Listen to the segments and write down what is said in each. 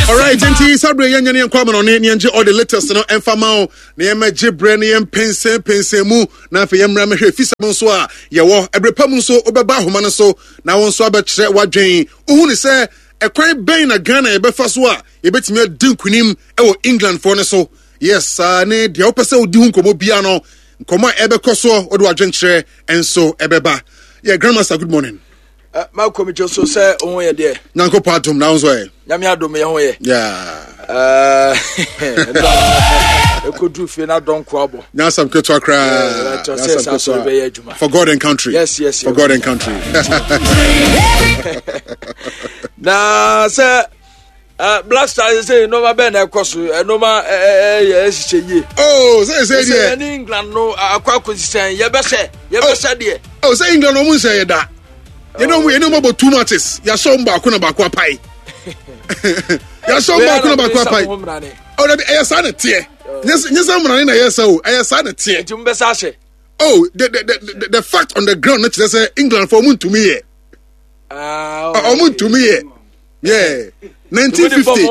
Alright, nti saa berɛ yɛnyɛ ne yɛnkɔ amanɔne ne yɛngye all the latest no ɛmfa ma wo na yɛmmɛgye berɛ ne yɛmpɛnsɛmpɛnsɛn mu na afei yɛmmra mɛhwɛ fisɛm nso a yɛwɔ ɛberɛ pa mu nso wobɛba ahoma no so na wo nso abɛkyerɛ w'adwen wohu ne sɛ ɛkwan bɛn na Ghana yɛbɛfa so a yɛbɛtumi adi nkonim wɔ Englandfoɔ no so yes saa ne deɛ wopɛ sɛ wodi ho nkɔmmɔ bia no nkɔmmɔ a ɛbɛkɔ soɔ wode w'adwenkyerɛ nso ɛbɛba yɛ grandmaster good morning Eh, makɔ mi so sɛ wo ho yɛ deɛ. Nyankopɔn adom na wo nso ɛ. Nyame adom yɛ ho yɛ. Yeah. Ɛkɔduru fie na dɔnko abɔ. Nyasam ketewa koraa. Nyasam ketewa. Bɛyɛ adwuma. For God and country. Yes. For God and country. Na sɛ Uh, Black Stars sɛ nneɛma bɛn na ɛkɔ so nneɛma ɛyɛ ɛhyehyɛ yie. Oh, sɛ sɛ deɛ. Sɛ ɛne England no akɔ akɔsi sɛn yɛbɛhyɛ yɛbɛhyɛ deɛ. Oh, sɛ England ɔmo nhyɛ yɛ da. Yɛne ɔmo yɛne ɔmo abɔ two matches yɛahyɛ ɔmo baako na baako apae. Yɛahyɛ ɔmo baako na baako apae. Oh, dabi ɛyɛ saa na teɛ. Nyɛ sɛ mmerane na ɛyɛ sɛ o ɛyɛ saa na teɛ. Nti mo bɛ sa ahyɛ. Oh, the the the fact on the ground no kyerɛ sɛ England fo ɔmo ntumi yɛ. Ɔmo ntumi yɛ. Yeah. 1950.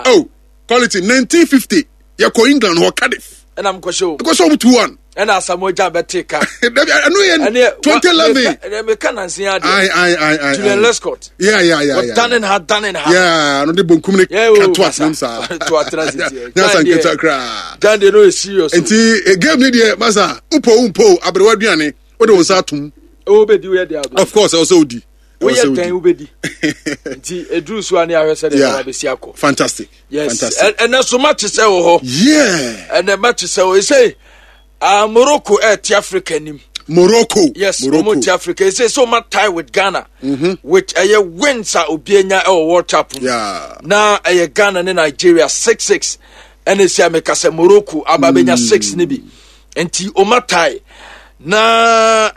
Oh, quality 1950. Yɛkɔ England hɔ Cardiff. Ɛna mkɔhyɛ o. Ɛkɔhyɛ ɔmo 2-1. Ɛna Asamoah Gyan bɛte ka. Dabi ɛno yɛ 2011. Ɛnɛ meka nansi adeɛ. Ayi ayi ayi ayi. Julian Lescott. Yeah. Danin ha danin ha. Yeah, no de bonkum ne ka to atenam saa. To atenam sisi. Nyasa nketewa koraa. Gyan deɛ no yɛ serious. Nti eh, game ni deɛ masa upo umpo aberewa aduane o de wɔn nsa atum. O bɛ di o yɛ de abo. Of course ɛwɔ sɛ o di. Woyɛ dɛn wobɛdi nti ɛduru so a ne ahwɛ sɛdeɛ ɛbɛba bɛsi akɔ. Fantastic. Yes. Fantastic. Ɛnɛ so match sɛ wɔ hɔ. Yeah. Ɛnɛ match sɛ wɔ ɛsɛ uh, Morocco ɛte Africa anim. Morocco. Yes, Morocco. Wɔn ti Africa. Ɛsɛ sɛ wɔn tie with Ghana. Mm -hmm. With ɛyɛ wins a obi anya ɛwɔ World Cup mu. Yeah. Na ɛyɛ Ghana ne Nigeria 6-6. Ɛna esi ameka sɛ Morocco aba bɛnya 6 ne bi. Nti wɔn atae na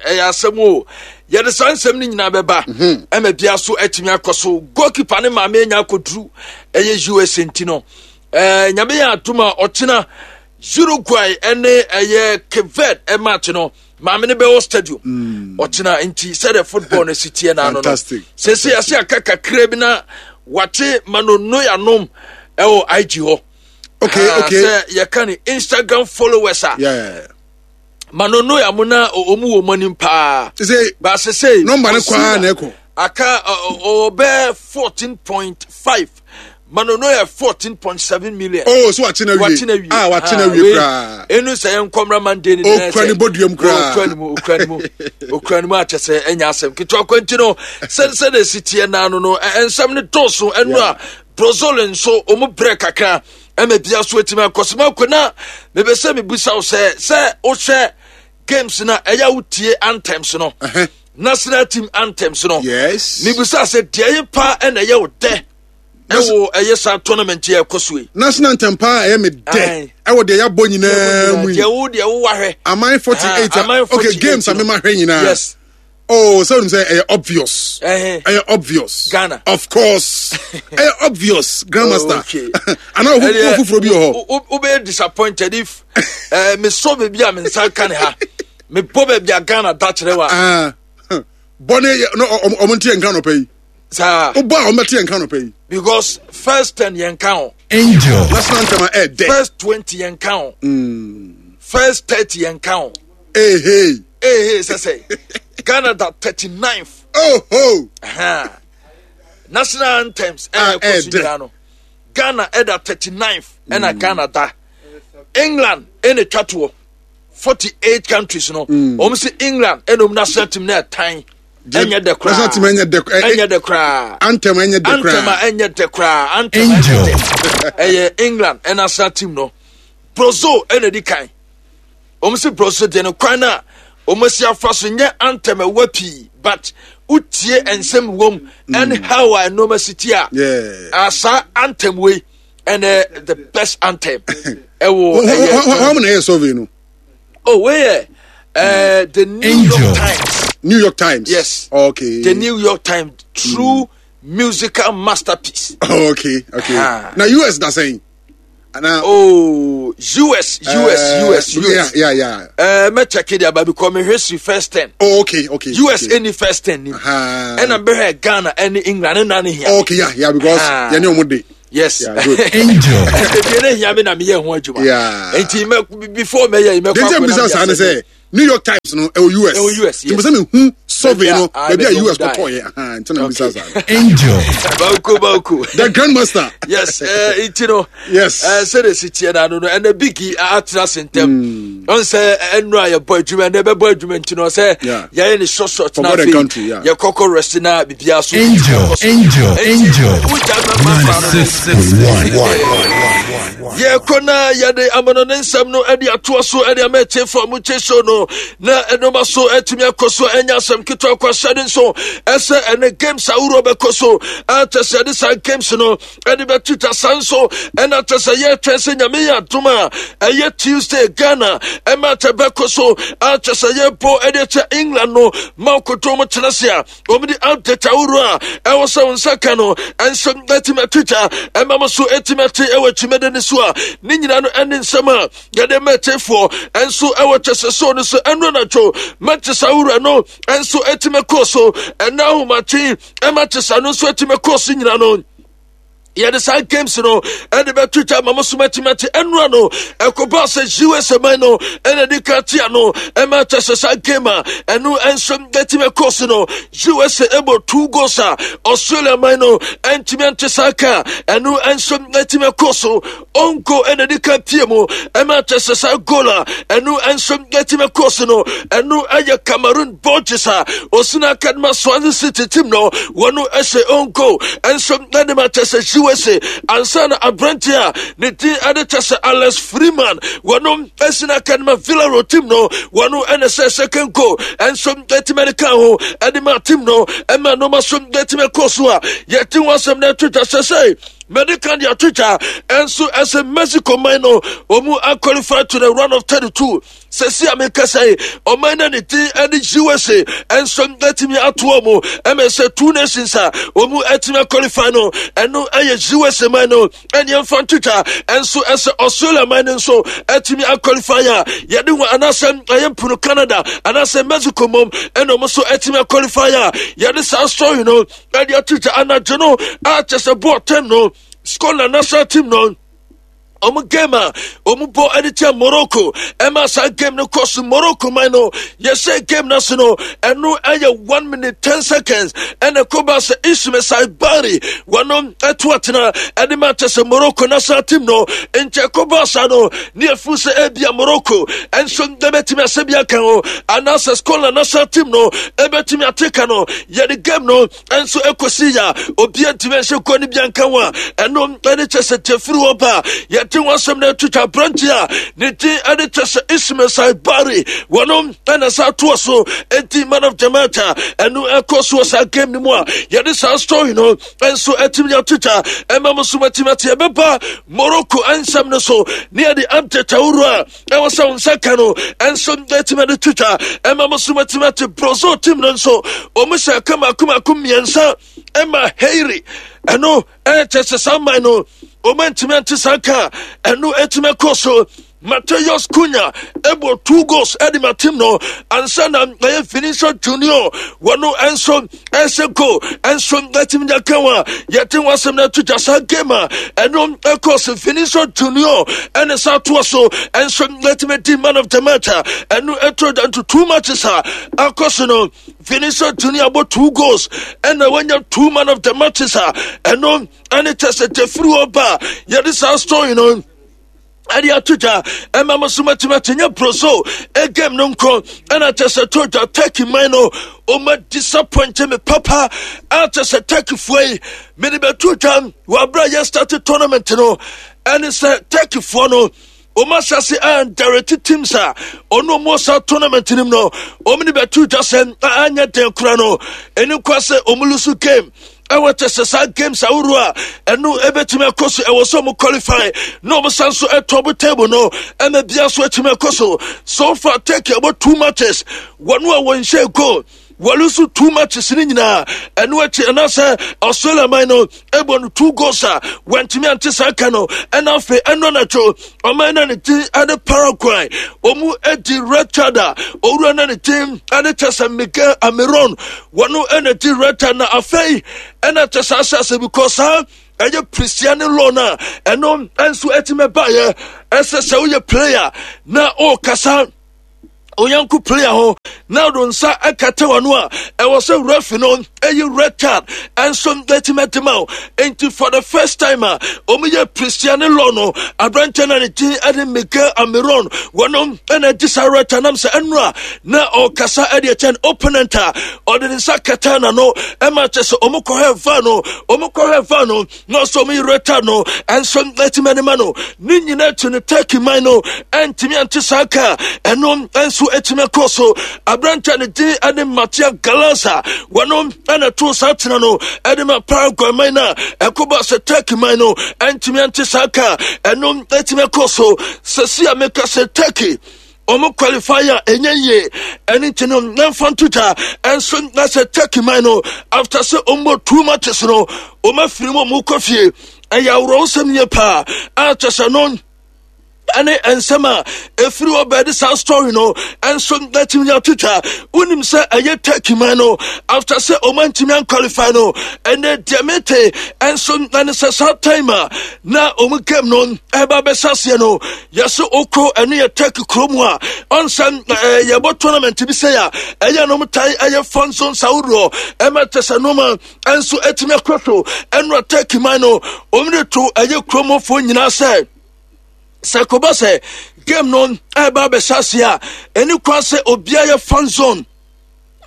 ɛyɛ asɛm o yɛde saa nsɛm no nyinaa bɛba mhm. ɛma bia so atumi akɔ so goalkeeper ne maame anya akɔduru ɛyɛ us nti no ɛɛ nyame yɛ atom a ɔkyena Uruguay ɛne ɛyɛ Cape Verde ɛmatch no maame no bɛwɔ stadium mm. ɔkyena nti sɛdeɛ football no si teɛ n'ano no sese ase aka kakra bi na wate manonoyanom ɛwɔ IG hɔ. Okay. Sɛ yɛka ne Instagram followers a. Yeah. Manono ya mo na ɔmu wɔ mo anim paa. Sɛ baase sɛ. Nɔmba ne kɔ a na ɛkɔ. Aka ɔbɛ 14.5. Manono yɛ 14.7 million. Oh, so wakye na wie. Wakye na wie. Ah, wakye na wie koraa. Enu sɛ yɛn nkɔmra Monday ni nɛ sɛ. Okura ne bɔduam koraa. Okura ne mu, okura ne mu, okura ne mu akyɛ sɛ ɛnya asɛm ketewa kwanti no sɛ sɛ na esi teɛ naano no nsɛm ne dɔɔso ɛnu a Brazil nso wɔn brɛ kakra ɛma bia so atumi akɔ so mako na mebɛ sɛ mebusa wo sɛ sɛ wohwɛ games na ɛyɛ wotie anthems no national team anthems no yes mebusa sɛ deɛ yɛ paa ɛna ɛyɛ wo dɛ ɛwɔ ɛyɛ saa tournament yɛ ɛkɔ so yi national anthem paa ɛyɛ me dɛ ɛwɔ deɛ yɛabɔ nyinaa mu yi deɛ wo deɛ wo wahwɛ aman 48 okay games a mema hwɛ nyinaa yes Oh, sɛ onim sɛ ɛyɛ obvious. Ɛyɛ obvious. Ghana. Of course. Ɛyɛ obvious, grandmaster. Oh, okay. Ana wo foforɔ bi wɔ hɔ. Wobɛyɛ disappointed if eh, mesɔ baabi a me nsa ka ne ha. Mebɔ baabi a Ghana da kyerɛ wa. Ah. Bɔne no ɔmo nte yɛn nka nɔpɛ yi. Saa. Wobɔ a ɔmo bɛte yɛn nka nɔpɛ yi. Because first 10 yɛn ka ho. Angel. National anthem a ɛɛdɛ. First 20 yɛn ka ho. First 30 yɛn ka ho. Hey, hey. Hey, hey, sɛ sɛ. Ghana da 39th. Oh, ho. Uh-huh. National anthems. Eh, ah, eh, nyinaa no. Ghana ɛda 39th ɛna mm. Ghana da. England ɛna twa toɔ. 48 countries no. Mm. Wɔn sɛ England ɛna wɔn national team na ɛtan. Ɛnyɛ dɛ koraa. National team ɛnyɛ dɛ. Ɛnyɛ dɛ koraa. Anthem ɛnyɛ dɛ koraa. Anthem a ɛnyɛ dɛ koraa. Anthem ɛnyɛ dɛ. Ɛyɛ England ɛna national team no. Brazil ɛna di kan. Wɔn si brɔso deɛ no kwan a wɔn asi afa so nyɛ anthem ɛwɔ pii but wotie nsɛm wɔm ɛne how a nneɛma si ti a asa anthem wei ɛnɛ the best anthem ɛwɔ ɛyɛ. Wɔn mu na ɛyɛ survey no. Oh wei yɛ ɛɛ the New York Times. New York Times. Yes. Okay. The New York Times true musical masterpiece. Oh, okay okay. Na US da sɛn. Ana. Oh, US, US, US, US. Yeah. Me check it about because me history first 10. Oh, okay. US okay. any first 10 ni. And I'm better Ghana and England and here. Okay, yeah, because yeah, no more day. Yes. Yeah, good. Angel. Ebi ne hia me na me yɛ ho adwuma. Yeah. Enti me before me yɛ me kwa. Dem bisa saa ne sɛ New York Times no ɛwɔ US. Ɛwɔ US. Yes. Nti me hu survey no baabi a US kɔtɔ yɛ. Aha, nti na bisa saa. Angel. Banku banku. The Grandmaster. Yes, nti no. Yes. Sɛ de si tiɛ na no no ɛnɛ bigi atena se ntɛm. Ɔn sɛ ɛnu a yɛbɔ adwuma ɛnɛ bɛbɔ adwuma nti no sɛ yɛyɛ ne short short na afei yɛ kɔkɔ rest na biribiara so. Angel, Angel, Angel. 96.1. Yɛkɔ na yɛde amano ne nsɛm no de atoa so de ama atiefo a motie show no na ɛnoma so atumi akɔ so ɛnyɛ asɛm ketewa kɔ ahyɛde nso ɛsɛ ɛne games ahoroɔ bɛkɔ so akyɛ sɛ yɛde saa games no ɛde bɛtwitwa saa nso ɛna kyɛ sɛ yɛtwɛn sɛ Nyame yɛ adom a ɛyɛ Tuesday Ghana ɛma kyɛ bɛkɔ so akyɛ sɛ yɛbɔ ɛde kyɛ England no ma koto mu kyerɛ se a wɔde update ahorow a ɛwɔ sɛ wo nsa ka no nso atumi atwitwa ɛma mo so atumi ate ɛwɔ twumadi no so a ne nyinaa no ɛne nsɛm a yɛde ma atiefoɔ nso ɛwɔ kyɛsɛ so no so ɛno anadwo matches ahorow no nso atumi kɔ so ɛna ahomakye ɛma kyesa no nso atumi kɔ so nyinaa no yɛde saa games no ɛde bɛto twa ma mo so matimati ɛnora no ɛkɔba sɛ usa man no ɛna de ka tia no ɛma kyɛ sɛ saa game a ɛno ɛnso ɛtumi ɛkɔ so no usa ɛbɔ two goals a Australia man no ɛntumi ɛnte saa ka ɛno ɛnso ɛtumi ɛkɔ so onko ɛna de ka pie mu ɛma kyɛ sɛ saa goal a ɛno ɛnso ɛtumi ɛkɔ so no ɛno ɛyɛ Cameroon Borges a osina akadema Swansea City team no wɔn ɛhyɛ onko ɛnso ɛde ma kyɛ sɛ USA ansa na aberante a ne din ɛde kyɛ sɛ Alex Freeman wɔn ɛsina akadema Villarreal team no wɔn ɛna sɛ second goal ɛnso ɛtumi ɛde ka ho ɛde ma team no ɛma nneɛma so ɛtumi ɛkɔ so a yɛte ho asɛm na ɛto dwa sɛ sɛ mɛde kan de ato dwa ɛnso ɛsɛ Mexico man no wɔn aqualify to the round of 32 sɛsi a mekasa yi ɔman no ne din ɛne USA ɛnso atumi ato wɔn ɛmɛ sɛ two nations a wɔn atumi aqualify no ɛno ɛyɛ USA man no ɛne ɛmfa nto dwa ɛnso ɛsɛ Australia man no nso atumi aqualify a yɛde ho anaasɛ ɛyɛ mpono Canada anaasɛ Mexico mom ɛna wɔn nso atumi aqualify a yɛde saa story no ɛde ato dwa anadwo no a kyɛ sɛ bɔɔl tɛm no Scotland national team no ɔmo game a ɔmo bɔ ɛde kyɛ Morocco ɛma saa game no kɔ so. Morocco man no yɛhyɛ game no ase no ɛno ɛyɛ 1 minute 10 seconds ɛna ɛkɔba sɛ Ismail Saibari wɔno ɛto atena ɛde ma kyɛ sɛ Morocco national team no nkyɛ ɛkɔba saa no ne ɛfu sɛ ebia Morocco ɛnso ɛbɛtumi asɛ bi aka ho anaasɛ Scotland national team no ɛbɛtumi ateka no. Yɛde game no nso ɛkɔsi ya obi antumi anhyɛ kɔ no bi anka ho a ɛno ɛne kyɛ sɛ tɛfiri hɔ ba a yɛde ho asɛm no atwitwa aberante a ne din ɛne kyɛ sɛ Ismail Saibari wɔno ɛna saa toɔ so ɛdi man of the match a ɛno ɛkɔ so wɔ saa game no mu a yɛde saa story no nso atumi atwitwa ɛma mo so matumi ate. Ɛbɛba Morocco ansɛm no so ne yɛde update ahoroɔ a ɛwɔ sɛ wo nsa ka no ɛnso atumi de twitwa ɛma mo so matumi ate. Brazil team no nso ɔmo hyɛ ka mako mako mmiɛnsa ɛma Hairi ɛno ɛkyɛ sɛ saa man no ɔmo antumi ante saa ka ɛno atumi akɔ so. Mateus Cunha ɛbɔ two goals ɛde ma team no ansa na ɛyɛ Vinicius Junior wɔno ɛnso ɛsɛ goal ɛnso ɛtumi de aka wɔn a yɛte wɔn asɛm no ato gya. Saa game a ɛno ɛkɔ so Vinicius Junior ɛne saa toa so ɛnso ɛtumi di man of the match a ɛno ɛto da nto two matches a akɔ so no Vinicius Junior bɔ two goals ɛna wanya two man of the matches a ɛno ɛne kyɛ sɛ tɛfiri hɔ ba a yɛde saa story no ɛde ato dwa ɛma mo so matumi ate. Nyɛ broso game no nko ɛna kyɛ sɛ to dwa. Turkey man no ɔma disappoint me papa a kyɛ sɛ Turkeyfoɔ yi mede bɛto dwa wɔ aberɛ a yɛ start tournament no ɛne sɛ Turkeyfoɔ no ɔma asase a direct teams a ɔno ɔmo saa tournament no mu no ɔmo de bɛto dwa sɛ anyɛ den kora no ɛne kwa sɛ ɔmo lose game ɛwɔ kyɛ sɛ saa games ahorow a ɛno ɛbɛtumi akɔ so ɛwɔ sɛ ɔmo qualify na ɔmo san so ɛtɔ table no ɛma bia so atumi akɔ so. So far Turkey ɛbɔ two matches wɔn a wɔnhyɛ goal. Wɔlose two matches no nyinaa. Ɛno akyi anaasɛ Australia man no ɛbɔ no two goals a wɔntumi ante saa ka no. Ɛna afei ɛno anadwo ɔman no ne din ɛne Paraguay wɔn adi red card a owura no ne din ɛne kyɛ sɛ Miguel Amiron wɔn ɛna di red card na afei ɛna kyɛ sɛ ahyɛ ase because saa ɛyɛ Cristiano law no a ɛno nso ɛtumi baeɛ ɛsɛ sɛ woyɛ player na ɔrekasa onyanko player ho na ɔde nsa ɛkata w'ano a ɛwɔ sɛ referee no ɛyi red card ɛnso ɛtumi ɛde ma wo. Nti for the first time a wɔn yɛ Cristiano law no, aberanteɛ na ne din ɛde Miguel Amiron wɔn ɛna ɛdi saa red card nam sɛ ɛno a na ɔkasa ɛde ɛkyɛn opponent a ɔde ne nsa kata n'ano ɛma kyɛ sɛ wɔn kɔhɛ va no, wɔn kɔhɛ va no na ɔsɛ ɔmo yerɛ no ɛnso ɛtumi ɛde ma no. Ne nyinaa akyi no Turkey man no ɛntumi ante saa ka ɛno nso ɛtumi ɛkɔ so. Aberante ne din ɛde Matia Galanza wɔno ɛna to saa tena no ɛde ma Paraguay man no a ɛkɔba sɛ Turkey man no ɛntumi ante saa ka ɛno ɛtumi ɛkɔ so. Sɛsi a meka sɛ Turkey ɔmo qualify a ɛnyɛ yie, ɛne nti no na mfa nto dwa ɛnso na sɛ Turkey man no after sɛ ɔmo two matches no ɔmo afiri mu ɔmo kɔ fie. Ɛyɛ aworɔwosɛm yie paa a kyɛ sɛ no ɛne nsɛm a ɛfiri hɔ bɛde saa story no ɛnso natumi atwitwa. Wonim sɛ ɛyɛ Turkey man no after sɛ ɔma ntumi anqualify no, ɛnɛ deɛ mete ɛnso na ne sɛ saa time a na ɔmo game no ɛba bɛhyɛ aseɛ no, yɛsɛ okɔ ɛno yɛ Turkey kurom a ɔnsɛm yɛbɔ tournament bi sɛ a ɛyɛ nom tae ɛyɛ fan zone sawodoɔ ɛma kyɛ sɛ noma ɛnso ɛtumi akɔ so. Ɛno Turkey man no ɔmo de to ɛyɛ kuromfoɔ nyinaa sɛ sɛ kɔba sɛ game no ɛba abɛhyɛ ase a, ɛni kwan sɛ obiara yɛ fan zone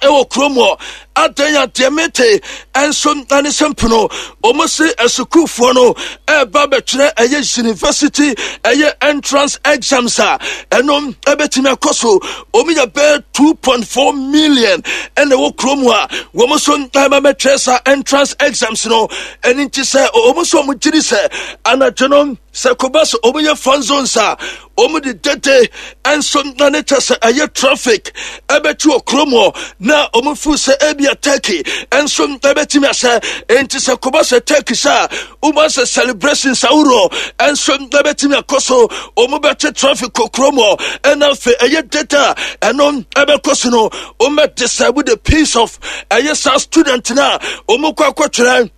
ɛwɔ kurom hɔ. Adan a deɛ mete ɛnso ɛne sɛ mpono wɔn se asukuufoɔ no ɛreba bɛtwerɛ ɛyɛ university ɛyɛ entrance exams a ɛno ɛbɛtumi akɔ so. Wɔn yɛ bɛyɛ 2.4 million ɛna ɛwɔ kurom a wɔn nso ɛreba bɛtwerɛ saa entrance exams no. Ɛne nti sɛ wɔn nso wɔn gyiri sɛ anadwo no sɛ kɔba sɛ wɔn yɛ fan zones a wɔn de dede nso na ne kyɛ sɛ ɛyɛ traffic ɛbɛti wɔ kurom hɔ na wɔn feel sɛ ebia Turkey nso ɛbɛtumi ahyɛ. Nti sɛ kɔba sɛ Turkey sɛ a wɔn sɛ celebration sawuro nso ɛbɛtumi akɔ so, wɔn bɛte traffic wɔ kurom hɔ ɛna afei ɛyɛ dede a ɛno ɛbɛkɔ so no, wɔn bɛ disturb the peace of ɛyɛ saa student na wɔn kɔ akɔtwerɛ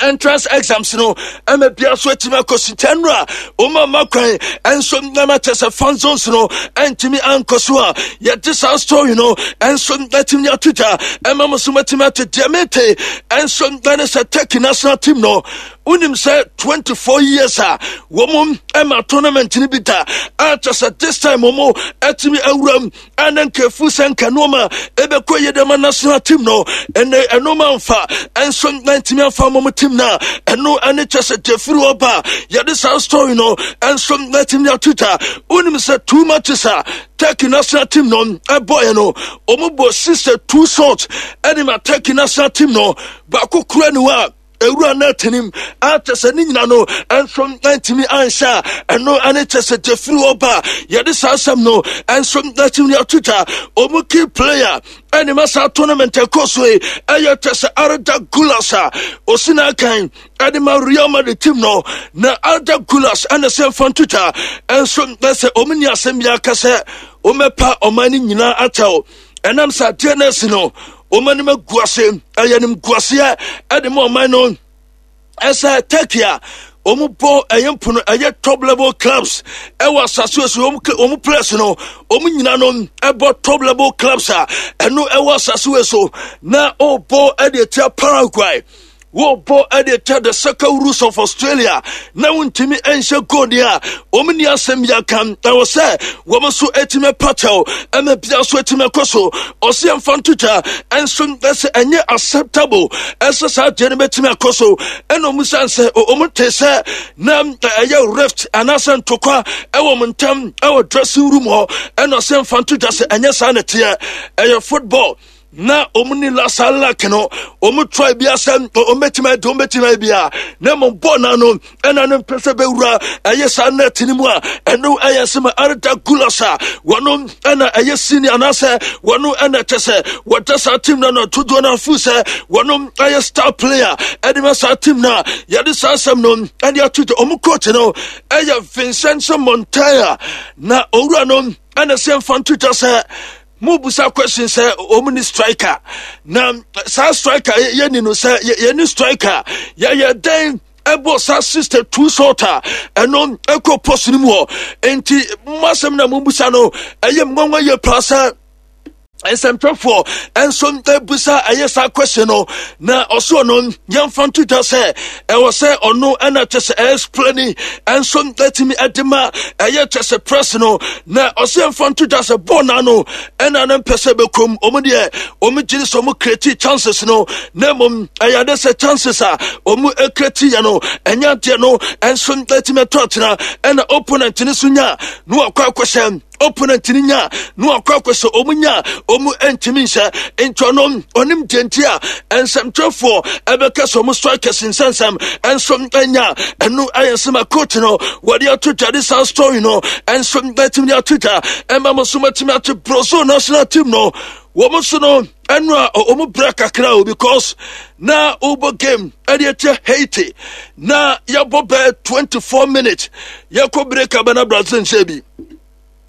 entrance exams no ɛma bia so atumi akɔ sitɛn no a wɔn ama kwan ɛnso nama kyɛ sɛ fan zones no ɛntumi ankɔ so a yɛde saa story no ɛnso atumi ato dwa ɛma mo so matumi ate deɛ mete ɛnso ɛne sɛ Turkey national team no, wonim sɛ 24 years a wɔn ɛma tournament no bi da a kyɛ sɛ this time wɔn atumi awuram ɛne nkafu sɛ nka nneɛma ɛbɛkɔ yie dɛma national team no, ɛnɛ ɛnoma mfa ɛnso nantumi amfa mɔm team no a ɛno ɛne kyɛ sɛ gyefiri hɔ ba yɛde saa story no ɛnso natumi ato dwa. Wonim sɛ two matches a Turkey national team no ɛbɔeɛ no, ɔmo bɔ 62 shots ɛne ma Turkey national team no baako kura ne hɔ a ewura no atenim akyɛ sɛ ne nyina no ɛnso ntumi anhyɛ a ɛno ɛne kyɛ sɛ gyefiri hɔ ba yɛde saa asɛm no ɛnso natumi ato dwa. Ɔmo key player ɛne ma saa tournament ɛkɔ so yi ɛyɛ kyɛ sɛ Arda Gulas a osi n'akan ɛde ma Real Madrid team no, na Arda Gulas ɛna sɛ mfa nto dwa ɛnso ɛsɛ ɔmo ni asɛm bi aka sɛ ɔmɛpa ɔman no nyinaa akyɛw ɛnam sɛ adeɛ no asi no wɔn anim agu ase, ɛyɛ anim gu aseɛ ɛde ma ɔman no. Ɛsɛ Turkey a wɔn bɔ ɛyɛ mpono ɛyɛ top level clubs ɛwɔ asase so, wɔn players no wɔn nyinaa no ɛbɔ top level clubs a ɛno ɛwɔ asase so na ɔbɔ ɛde atia Paraguay, wɔbɔ ɛde atia the Soccer Rules of Australia na wontumi nhyɛ goal deɛ a wɔn ni asɛm bi aka ɛwɔ sɛ wɔn nso atumi pakyɛw ɛma bia nso atumi akɔ so. Ɔsi ɛmfa nto dwa ɛnso ɛsɛ ɛnyɛ acceptable ɛsɛ saa deɛ no bɛtumi akɔ so. Ɛna wɔn san sɛ wɔn te sɛ na ɛyɛ rift anaasɛ ntokwa ɛwɔ wɔn ntam ɛwɔ dressing room hɔ, ɛna ɔsɛ ɛmfa nto dwa sɛ ɛnyɛ saa na ɛteɛ, ɛyɛ football. Na wɔn ni lasa luck no, wɔn try bi asɛ wɔn bɛtumi adi, wɔn bɛtumi ayɛ bi a, na mmom bɔɔl n'ano ɛna ne mpɛ sɛ bɛwura ɛyɛ saa net no mu a, ɛno ɛyɛ sɛ ma Arda Gulas a wɔn ɛna ɛyɛ senior anaasɛ wɔn ɛna kyɛ sɛ wɔda saa team no ano dodoɔ no afu sɛ wɔn ɛyɛ star player ɛde ma saa team no a yɛde saa asɛm no ɛde ato dwa. Wɔn coach no ɛyɛ Vincent Montaya, na owura no ɛna sɛ mfa nto dwa sɛ mubusa question sɛ wɔn ni striker, na saa striker yɛ ni no sɛ yɛ ni striker yɛyɛ dɛn ɛbɔ saa 62 shot a ɛno ɛkɔ post no mu hɔ. Nti mo asɛm na mubusa no ɛyɛ nwanwa yie paa sɛ nsɛmtwerɛfoɔ nso ebusa ɛyɛ saa question no, na ɔso no yɛmfa nto dwa sɛ ɛwɔ sɛ ɔno ɛna kyɛ sɛ ɛexplaini nso ɛtumi ɛde ma ɛyɛ kyɛ sɛ press no, na ɔsɛ yɛmfa nto dwa sɛ bɔɔl n'ano ɛna no mpɛ sɛ bɛkɔm. Ɔmo deɛ ɔmo gyiri sɛ ɔmo create chances no, na mmom ɛyɛ ade sɛ chances a ɔmo create yɛ no ɛnyɛ adeɛ no ɛnso ɛtumi ɛtɔ atena, ɛna opponent no so nya na wakɔ akɔhyɛ, opponent no nya na wakɔ akɔhyɛ, ɔmo nya ɔmo ntumi nhyɛ. Nti ɔno ɔnim deɛ nti a nsɛmtwerɛfoɔ ɛbɛka sɛ ɔmo strikers nsɛnsɛm ɛnso ɛnya ɛno ɛyɛ nsɛm a coach no wɔde ato dwa de saa story no ɛnso ɛtumi de ato dwa ɛma mo so matumi ate. Brazil national team no wɔn nso no ɛno a wɔn brɛ kakra o, because na wobɔ game ɛde akyɛ Haiti na yɛbɔ bɛɛ 24 minutes, yɛkɔ break abɛ na Brazil nhyɛ bi.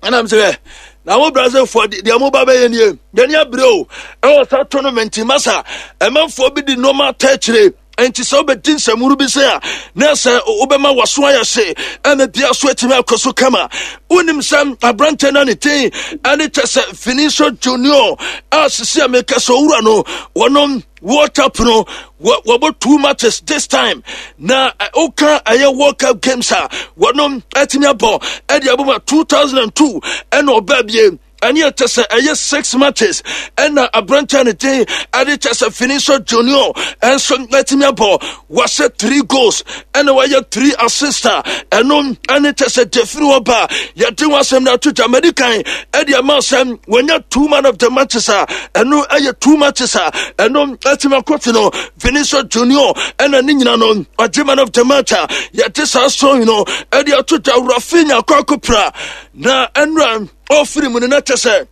Ɛnam sɛ na mo Brazilfoɔ deɛ mo ba bɛyɛ nie, yɛne abere o ɛwɔ saa tournament masa ɛmanfoɔ bi de nneɛma atɔ akyire. Nti sɛ wobɛdi nsɛmhunu bi sɛ a na sɛ wobɛma waso ayɛ hye ɛna bia so atumi akɔ so kama. Wonim sɛ aberantɛ no ne din ɛne kyɛ sɛ Vinicius Junior a sisi a meka sɛ owura no wɔnom World Cup no wɔbɔ two matches this time, na woka ɛyɛ World Cup games a wɔnom atumi abɔ ɛde abɔ ma 2002 ɛna ɔbaa bie ɛne ɛkyɛ sɛ ɛyɛ six matches ɛna aberanteɛ ne din ɛde kyɛ sɛ Vinicius Junior ɛnso ɛtumi abɔ, wahyɛ three goals ɛna wayɛ three assists a ɛno ɛne kyɛ sɛ gyefiri hɔ ba yɛde ho asɛm no ato dwa. Madi kan ɛde ama sɛ wɔnya two man of the matches a ɛno ɛyɛ two matches a ɛno ɛtumi akɔte no Vinicius Junior ɛna ne nyina no ɔgye man of the match a yɛde saa sɔn no ɛde ato dwa. Rafinha akɔ akɔpira na ɛnura ɔfiri mu no na kyɛ sɛ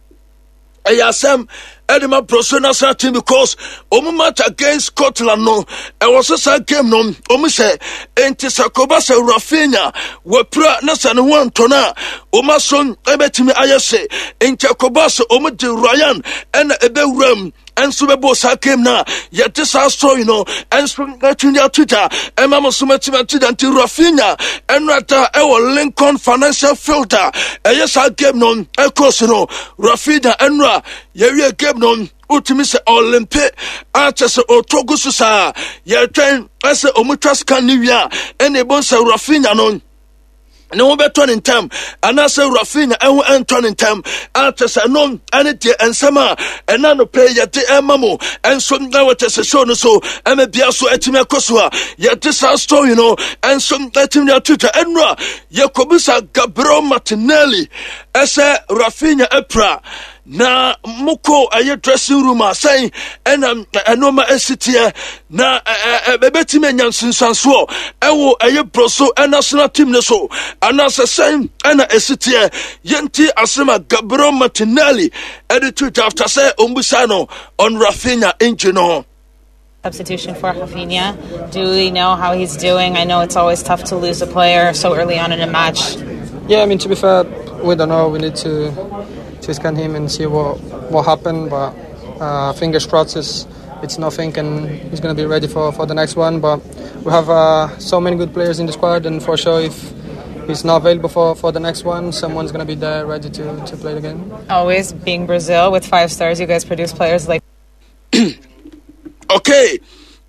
ɛyɛ asɛm ɛde ma Brazil national team, because ɔmo match against Scotland no ɛwɔ so saa game no ɔmo hyɛ. Nti sɛ kɔba sɛ Rafinha wɔpira na sɛ ne ho antɔ no a, ɔmo aso ɛbɛtumi ayɛ hye. Nti ɛkɔba sɛ ɔmo de Ryan ɛna ɛbɛwura mu ɛnso bɛbɔ saa game no a yɛde saa story no ɛnso atumi de ato dwa ɛma mo so matumi ato dwa. Nti Rafinha ɛno ada ɛwɔ Lincoln Financial Field a ɛyɛ saa game no ɛkɔɔ so no, Rafinha ɛno a yɛwie game no wotumi sɛ ɔlempe akyɛ sɛ ɔtɔ gu so saa, yɛtwɛn ɛsɛ ɔmo twa scan ne wie a ɛna ɛbɔ sɛ Rafinha no ne ho bɛtɔ ne ntam anaasɛ Rafinha ɛho ɛntɔ ne ntam akyɛ sɛ ɛno ɛne deɛ nsɛm a ɛna no pɛ yɛde ɛma mo ɛnso na wɔkyɛ sɛ show no so ɛma bia so ɛtumi akɔ so a yɛde saa story no ɛnso ɛtumi ato dwa. Ɛno a yɛkɔbisa Gabriel Martinelli ɛsɛ Rafinha apira na mokɔ ɛyɛ dressing room a sɛn ɛna ɛnoma ɛsi teɛ na ɛbɛtumi anya nsunsuansoɔ ɛwɔ ɛyɛ Brazil national team no so anaasɛ sɛn ɛna ɛsi teɛ. Yɛnti asɛm a Gabriel Martinelli ɛde to dwa after sɛ ɔmbusa no on Rafinha injury no. Substitution for Rafinha. Do we know how he's doing? I know it's always tough to lose a player so early on in a match. Yeah, I mean, to be fair, we don't know. We need to scan him and see what happened. But fingers crossed, it's nothing and he's going to be ready for the next one. But we have so many good players in the squad, and for sure, if he's not available for the next one, someone's going to be there ready to play the game. Always being Brazil with five stars, you guys produce players like. Okay.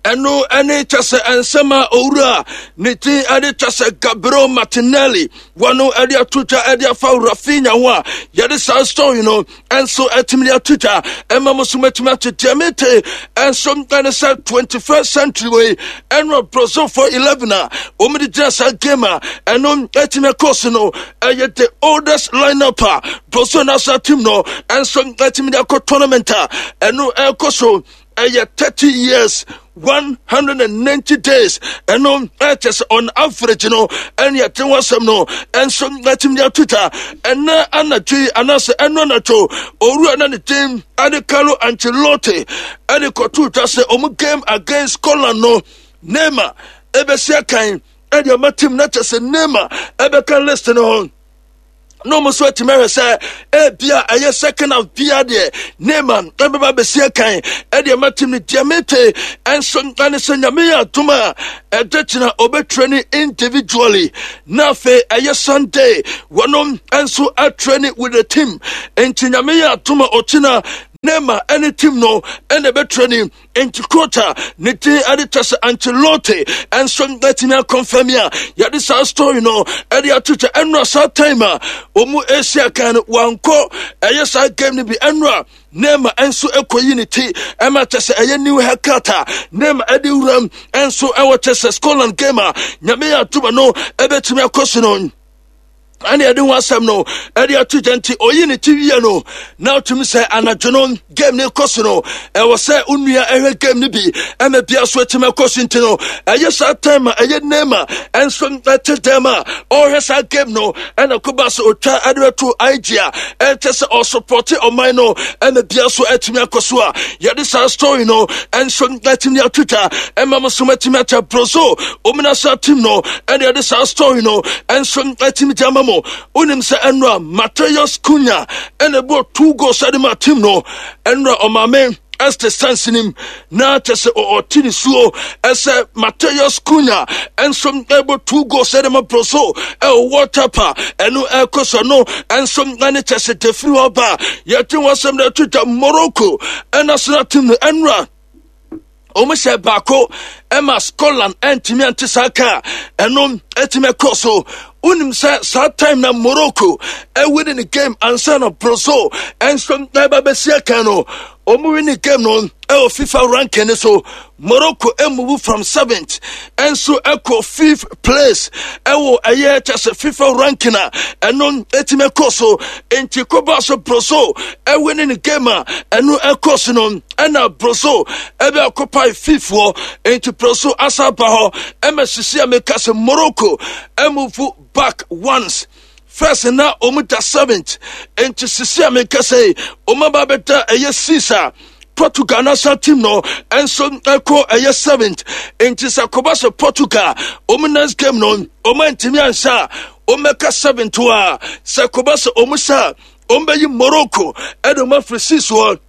Ɛno ne kyɛ sɛ nsɛm a owura ne din de kyɛ sɛ Gabriel Martinelli wɔno de ato dwa de afa Rafinha ho a yɛde saa story no nso atumi de ato dwa ɛma mo so matumi ate deɛ mete nso ɛne sɛ 21st century wei ɛno Brazilfoɔ 11 a wɔn de gyina saa game a ɛno atumi akɔ so no ɛyɛ the oldest lineup a Brazil national team no nso atumi de akɔ tournament a ɛno ɛkɔ so ɛyɛ 30 years 190 days ɛno ɛkyɛ sɛ on average no ɛne ɛte ho asɛm no ɛnso ɛtumi de ato twa ɛnɛ anadwo yi anaasɛ ɛno anadwo owura na ne din ɛne Carlo Ancelotti ɛde kɔto twa sɛ ɔmo game against Scotland no Neymar ɛbɛsi akan ɛde ɔma team na kyɛ sɛ Neymar ɛbɛka list no ho na wɔn nso atumi ahwɛ sɛ ebia ɛyɛ second half bia deɛ Neymar ɛbɛba bɛsi akan ɛde ɛma team no deɛ mete ɛnso ɛne sɛ nyame yɛ adom a ɛde kyena ɔbɛtrɛ ne individually na afei ɛyɛ Sunday wɔnom nso atrɛ ne with the team nti nyame yɛ adom a ɔkyena Neymar ɛne team no ɛna ɛbɛtrɛ ne Enti coach a ne din de kyɛ sɛ Ancelotti nso atumi akɔnfɛm a yɛde saa story no ɛde ato kyɛ ɛnora saa time a wɔn esi akan no wankɔ ɛyɛ saa game no bi ɛnora Neymar nso ɛkɔyi ne ti ɛma kyɛ sɛ ɛyɛ new haircut a Neymar ɛde wuram nso ɛwɔ kyɛ sɛ Scotland game a nyame yɛ atoma no ɛbɛtumi akɔ so no ɛne ɛde ho asɛm no ɛde ato gya nti ɔyi ne ti wie no na ɔtumi sɛ anadwo no game no kɔ so no ɛwɔ sɛ onua ɛhwɛ game no bi ɛma bia so atumi akɔ so nti no ɛyɛ saa time a ɛyɛ Neymar ɛnso ɛte dɛm a ɔrehwɛ saa game no ɛna koba sɛ ɔtwa ɛde bɛto IG a ɛkyɛ sɛ ɔsopɔte ɔman no ɛma bia so atumi akɔ so a yɛde saa story no ɛnso atumi ato dwa ɛma mo so atumi akyɛ broso omina saa team no ɛne ɛde saa story no ɛnso atumi de ama mo wonim sɛ ɛnora Mateus Cunha ɛna ɛbɔ two goals ɛde ma team no ɛnora ɔmaame ɛste sansi nim na kyɛ sɛ ɔte ne suo ɛsɛ Mateus Cunha ɛnso ɛbɔ two goals ɛde ma Brazil ɛwɔ World Cup a ɛno ɛkɔ so no ɛnso ɛne kyɛ sɛ defiri hɔ ba yɛte wɔn asɛm na ɛto dwa Morocco ɛna sena team no ɛnora wɔn hyɛ baako ɛma Scotland ɛntumi ante saa ka ɛno ɛtumi ɛkɔ so wonim sɛ saa time na Morocco ɛwini ne game ansa na Brazil ɛnso ɛba bɛsi akan no wɔn wini game no ɛwɔ FIFA ranking no so Morocco ɛmuvu from seventh ɛnso ɛkɔ fifth place ɛwɔ ɛyɛ kyɛ sɛ FIFA ranking a ɛno ɛtumi ɛkɔ so nti kɔba so Brazil ɛwini ne game a ɛno ɛkɔ so no ɛna Brazil ɛbɛ occupy fifth hɔ nti Brazil asa ba hɔ ɛma sisi a meka sɛ Morocco ɛmove back once first na wɔn da seventh nti sisi a meka sɛ wɔn aba abɛda ɛyɛ six a Portugal national team no nso ɛkɔ ɛyɛ seventh nti sɛ kɔba sɛ Portugal wɔn next game no wɔn antumi anhyɛ a wɔn bɛka seventh a sɛ kɔba sɛ wɔn hyɛ a wɔn bɛyi Morocco ɛde wɔn afiri six hɔ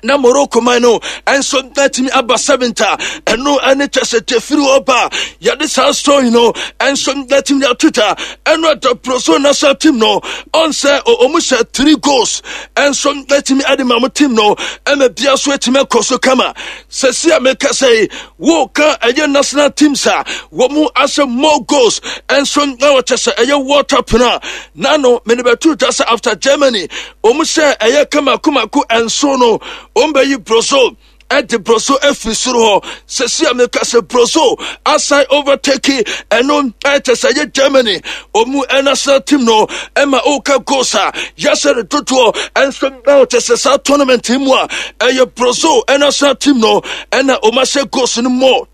na Morocco man no nso atumi aba seventh a ɛno ɛne kyɛ sɛ tefiri hɔ ba yɛde saa story no nso atumi ato dwa ɛno ɛda Brazil national team no ɔn sɛ ɔmo hyɛ three goals nso atumi ɛde ma mo team no ɛma bia so atumi akɔ so kama sɛsi a meka sɛ woka ɛyɛ national teams a wɔn ahyɛ more goals nso na wɔkyɛ sɛ ɛyɛ World Cup no a nano mede bɛto dwa sɛ after Germany wɔn sɛ ɛyɛ kamakomako nso no wɔn bɛyi Brazil ɛde Brazil afiri soro hɔ sɛsi a meka sɛ Brazil asan overtake ɛno ɛkyɛ sɛ ɛyɛ Germany wɔn national team no ɛma ɔka goals a yɛsɛ no dodoɔ ɛnso na ɔkyɛ sɛ saa tournament yi mu a ɛyɛ Brazil national team no ɛna wɔn ahyɛ goals no more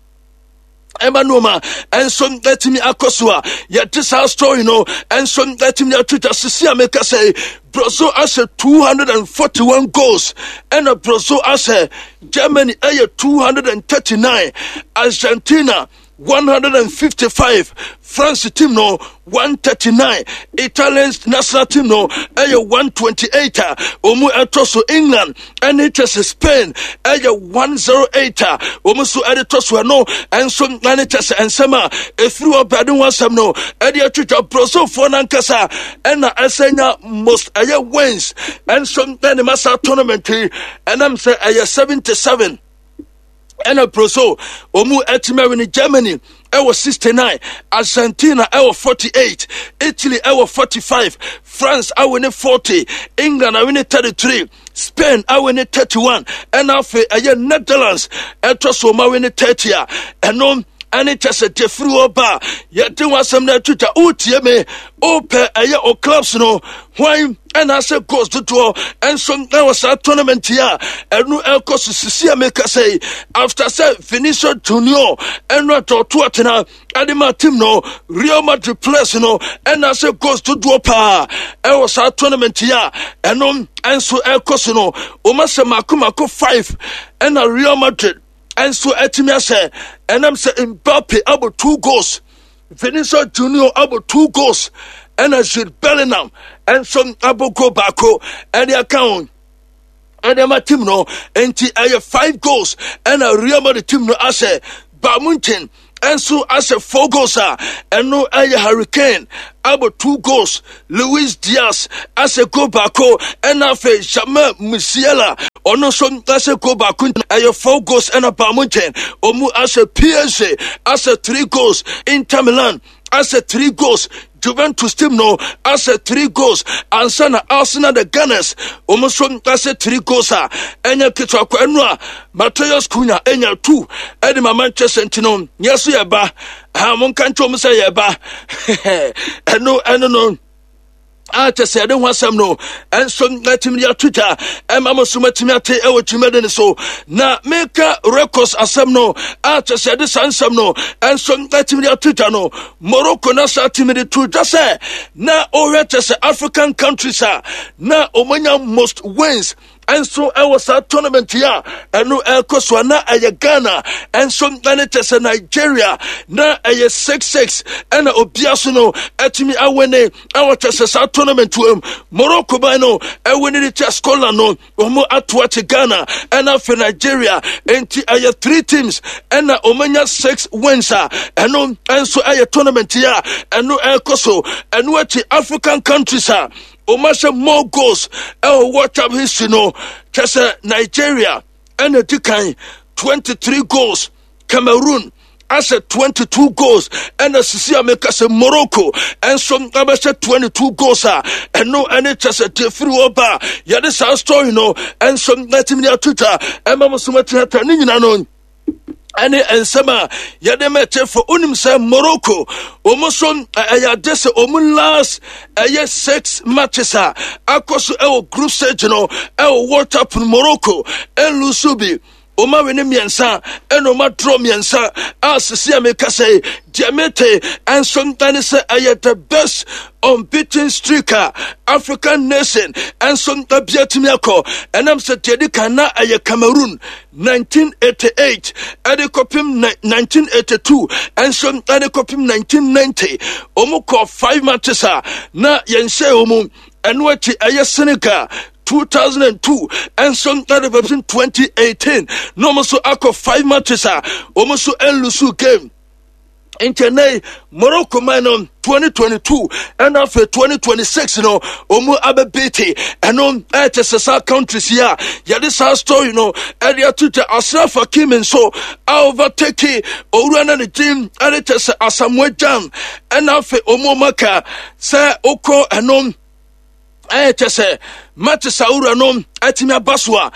ɛma nneɛma ɛnso atumi akɔ so a yɛde saa story no ɛnso atumi ato dwa sisi a meka sɛ Brazil ahyɛ 241 goals ɛna Brazil ahyɛ Germany ɛyɛ 239 Argentina 155 France team no 139 Italian national team no ɛyɛ 128 a wɔn ɛtɔ so England ɛne kyɛ sɛ Spain ɛyɛ 108 a wɔn nso ɛde tɔ so ɛno ɛnso ɛne kyɛ sɛ nsɛm a ɛfiri hɔ bɛde ho asɛm no ɛde atwitwa Brazilfoɔ no ankasa ɛna ɛsɛ nya most ɛyɛ wins ɛnso ɛne ma saa tournament yi ɛnam sɛ ɛyɛ 77. Ɛna Brazil wɔn atumi awini. Germany ɛwɔ 69, Argentina ɛwɔ 48, Italy ɛwɔ 45, France awini 40, England awini 33, Spain awini 31, ɛna afei ɛyɛ Netherlands ɛtɔ so wɔn awini 30 a ɛno ɛne kyɛ sɛ deɛ firi hɔ ba a yɛde ho asɛm no ato dwa. Wotie me, wopɛ ɛyɛ o clubs no hwan ɛna asɛ goals dodoɔ ɛnso ɛwɔ saa tournament yi a ɛno ɛkɔ so sisi a meka sɛ yi, after sɛ Vinicius Junior ɛno atɔɔto atena ɛde ma team no Real Madrid players no ɛna asɛ goals dodoɔ paa ɛwɔ saa tournament yi a ɛno ɛnso ɛkɔ so no, wɔn asɛ mako mako 5 ɛna Real Madrid ɛnso atumi ahyɛ, ɛnam sɛ Mbappe abɔ 2 goals, Vinicius Junior abɔ 2 goals, ɛna Jude Bellingham ɛnso abɔ goal baako ɛde aka ho ɛde ama team no. Nti ɛyɛ 5 goals ɛna Real Madrid team no ahyɛ. Bayern Munich ɛnso ahyɛ 4 goals a ɛno ɛyɛ Harry Kane abɔ 2 goals, Luis Diaz ahyɛ goal baako, ɛna afei Jamal Musiala ɔno nso ahyɛ goal baako. Ɛyɛ 4 goals ɛna Bayern Munich ɔmu ahyɛ. PSG ahyɛ 3 goals, Inter Milan ahyɛ 3 goals, Juventus team no ahyɛ 3 goals, ansa na Arsenal, the Gunners, wɔn nso ahyɛ 3 goals a ɛnyɛ ketewa kɔ. Ɛno a Matheus Cunha ɛnya 2 ɛde ma Manchester, nti no yɛ so yɛ ba ha, monka nkyɛn wɔn sɛ yɛ ba. Ɛno no a kyɛ sɛ yɛde ho asɛm no ɛnso atumi de ato dwa ɛma mo so matumi ate ɛwɔ dwumadi no so. Na meka records asɛm no a kyɛ sɛ yɛde saa nsɛm no ɛnso atumi de ato dwa no, Morocco na saa tumi de to dwa sɛ na ɔhwɛ kyɛ sɛ African countries a na ɔmanya most wins ɛnso ɛwɔ saa tournament yi a ɛno ɛkɔ so a, na ɛyɛ Ghana ɛnso ɛne kyɛ sɛ Nigeria, na ɛyɛ 6-6 ɛna obia so no ɛtumi awene ɛwɔ kyɛ sɛ saa tournament wɔ mu. Morocco ban no ɛwene de kyɛ Scotland no, wɔn ato akye Ghana ɛna afei Nigeria, nti ɛyɛ three teams ɛna wɔn 6 wins a ɛno ɛnso ɛyɛ tournament yi a ɛno ɛkɔ so. Ɛno akyi, African countries a wɔn ahyɛ more goals ɛwɔ World Cup history no, kyɛ sɛ Nigeria ɛna di kan, 23 goals, Cameroon ahyɛ 22 goals, ɛna sisi a meka sɛ Morocco ɛnso abɛhyɛ 22 goals a ɛno ɛne kyɛ sɛ deɛ firi hɔ ba a yɛde saa story no ɛnso atumi de ato dwa ɛma mo so matumi ata ne nyina no ɛne nsɛm a yɛde mɛkyɛ wonim sɛ Morocco wɔn nso ɛyɛ ade sɛ wɔn last ɛyɛ six matches a akɔ so ɛwɔ group stage no ɛwɔ World Cup no, Morocco ɛnlusu bi. Wɔn awe ne mmiɛnsa ɛna wɔn adorɔ mmiɛnsa a sisi a meka sɛ deɛ mete ɛnso ɛne sɛ ɛyɛ the best unbeaten streak a African nation ɛnso abia tumi akɔ, ɛnam sɛ deɛ di kan na ɛyɛ Cameroon 1988 ɛde kɔpem 1982, ɛnso ɛde kɔpem 1990, wɔn kɔ five matches a na yɛnhyɛ wɔn mu. Ɛno akyi ɛyɛ Senegal 2002 ɛnso ɛde kɔpem 2018, na wɔn nso akɔ five matches a wɔn nso ɛnlusu game. Nti ɛnɛ Morocco man no 2022 ɛna afei 2026 no ɔmu abɛbete. Ɛno ɛkyɛ sɛ saa countries yi a yɛde saa story no ɛde ato dwa. Ashraf Hakimi nso a overtake owura no ne din ɛde kyɛ sɛ Asamoah Gyan, ɛna afei ɔmu ɔmaka sɛ wokɔ ɛno ɛyɛ kyɛ sɛ matches a wura no atumi aba so a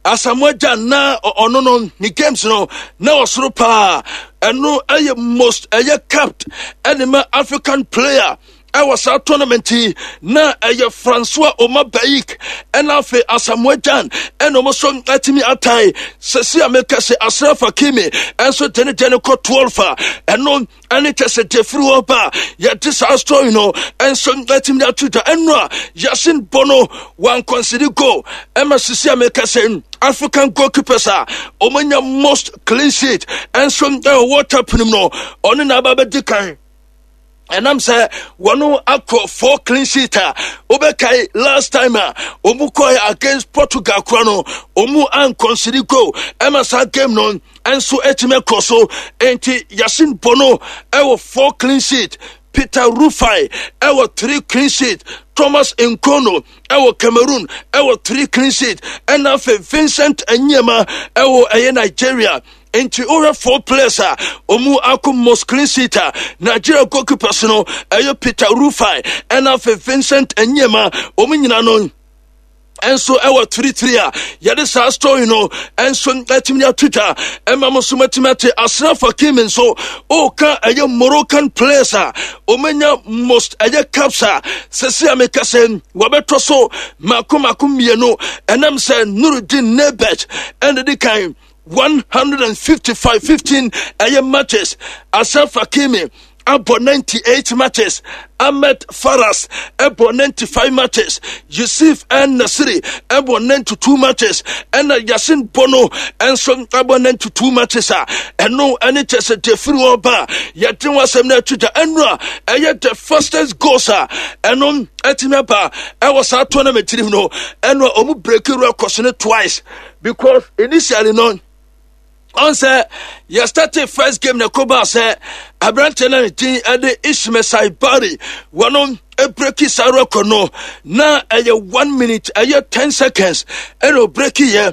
Asamoah Gyan na ɔno no ne games no na ɔsoro paa. Ɛno ɛyɛ most ɛyɛ capped ɛne ma African player ɛwɔ saa tournament yi na ɛyɛ Francois Oma Bayik, ɛna afei Asamoah Gyan ɛna ɔmo so atumi atae. Sɛsi a meka sɛ Ashraf Hakimi ɛnso de ne deɛ no kɔ 12 a ɛno ɛne kyɛ sɛ deɛ firi hɔ ba a yɛde saa story no ɛnso atumi de ato dwa. Ɛno a Yasin Bono wankɔnsidi goal ɛma sisi a meka sɛ African goalkeepers a wɔanya most clean sheet ɛnso ɛwɔ World Cup no mu no, ɔno na aba bɛdi kan, ɛnam sɛ wɔn akɔ four clean sheet a wobɛkae last time a wɔn kɔɛ against Portugal kora no, wɔn ankɔnsidi goal ɛma saa game no nso atumi akɔ so. Nti Yasin Bono ɛwɔ four clean sheet, Peter Rufai ɛwɔ three clean sheet, Thomas Nkono ɛwɔ Cameroon ɛwɔ three clean sheet, ɛna afei Vincent Anyema ɛwɔ ɛyɛ Nigeria. Nti wohwɛ four players a ɔmu akɔ most clean sheet a, Nigeria goalkeepers no ɛyɛ Peter Rufai ɛna afei Vincent Enyeama, ɔmu nyina no nso ɛwɔ 33 a yɛde saa story no nso atumi ato dwa ɛma mo nso matumi ate. Ashraf Hakimi nso ɔka ɛyɛ Moroccan players a ɔmanya most ɛyɛ caps a sɛsi a meka sɛ wɔbɛtɔ so mako mako mmienu, ɛnam sɛ Nurudin Nebet ɛna di kan 155 15 ɛyɛ matches. Ashraf Hakimi abɔ 98 matches, Ahmed Faras ɛbɔ 95 matches, Yusuf El Nasiri ɛbɔ 92 matches, ɛna Yasin Bono ɛnso ɛbɔ 92 matches a ɛno ɛne kyɛ sɛ deɛ firi hɔ ba a yɛde ho asɛm no ato dwa. Ɛno a ɛyɛ the fastest goals a ɛno ɛtumi aba ɛwɔ saa tournament no mu no, ɛno a ɔmo break records no twice, because initially no ɔn sɛ yɛ started first game na ɛkɔbaa sɛ aberanteɛ no ne din ɛde Ismail Saibari wɔno ɛbreki saa record no na ɛyɛ 1 minute ɛyɛ 10 seconds ɛna ɔbreki yɛ.